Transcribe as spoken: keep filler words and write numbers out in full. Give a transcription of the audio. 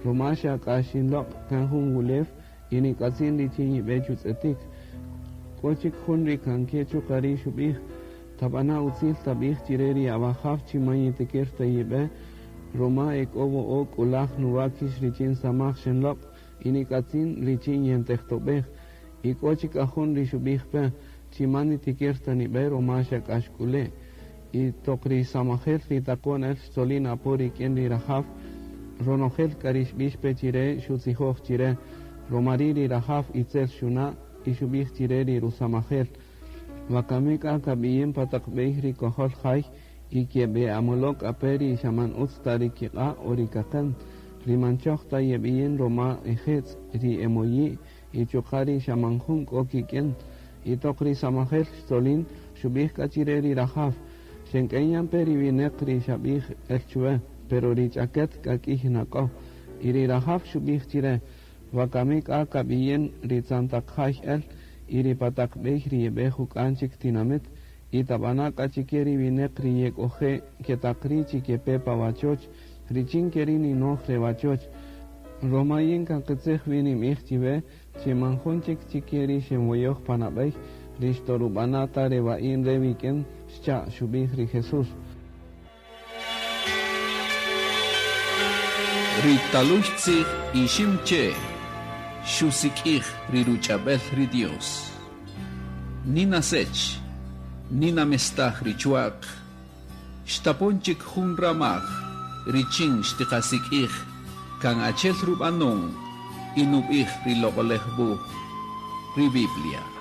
Roma xa k'a xinloq' kan jun wulew y nik'atzin richin yibe chutz'etik. K'o chik jun ri kan ke chuqa' ri' xub'ij: Tab'ana' utzil tab'ij chire ri awajaw chi man yitikir ta yib'e, roma e k'o wo'o' k'ulaj nuwakix richin samaj xenloq' y nik'atzin richin yentejtob'ej. Y k'o chik k'a jun ri xub'ij pe chi man nitikir ta nib'e roma xa k'a xk'ule'. Y toq ri samajel ri taqon el xtzolin apo rik'in ri rajaw, ronojel k'a ri xb'ix pe chire xutzijoj chire, roma ri' ri rajaw itzel xuna' y xub'ij chire ri rusamajel: Wakami k'a kab'iyin pa taq b'ey ri kojol jay y keb'e'amolo' k'a pe ri xa man utz ta ri kiq'a' o ri kaqen, ri man choj ta yeb'iyin roma ejetz', ri emoyi' y chuqa' ri xa man jun k'o kik'in. Y toq ri samajel xtzolin xub'ij k'a chire ri rajaw: Xenk'en yan pe ri wineq ri xab'ij el chuwe, pero ri ch'aket k'a k'iy na k'o. Y ri rajaw xub'ij chire: Wakami k'a kab'iyin ri tzan taq jay el y ri pa taq b'ey ri yeb'e juk'an chik tinamit y tab'ana' k'a chike ri wineq ri yek'oje' ketaq ri' chi kepe pa wachoch, richin keri' ninoj re wachoch. Roma yin kan qitzij wi ninb'ij chiwe chi man jun chik chike ri xenwoyoj pa nab'ey ri xtorub'ana' ta re wa'in re wik'in, xcha' xub'ij ri Jesús. Ri talux tzij Iximche' xusik'ij ri ruch'ab'el ri Dios. Nina Sech, Nina mestaj ri chwa'q, xtapon chik jun ramaj richin xtiqasik'ij kan achel rub'anon y nub'ij ri Loq'olej Wuj, ri Biblia.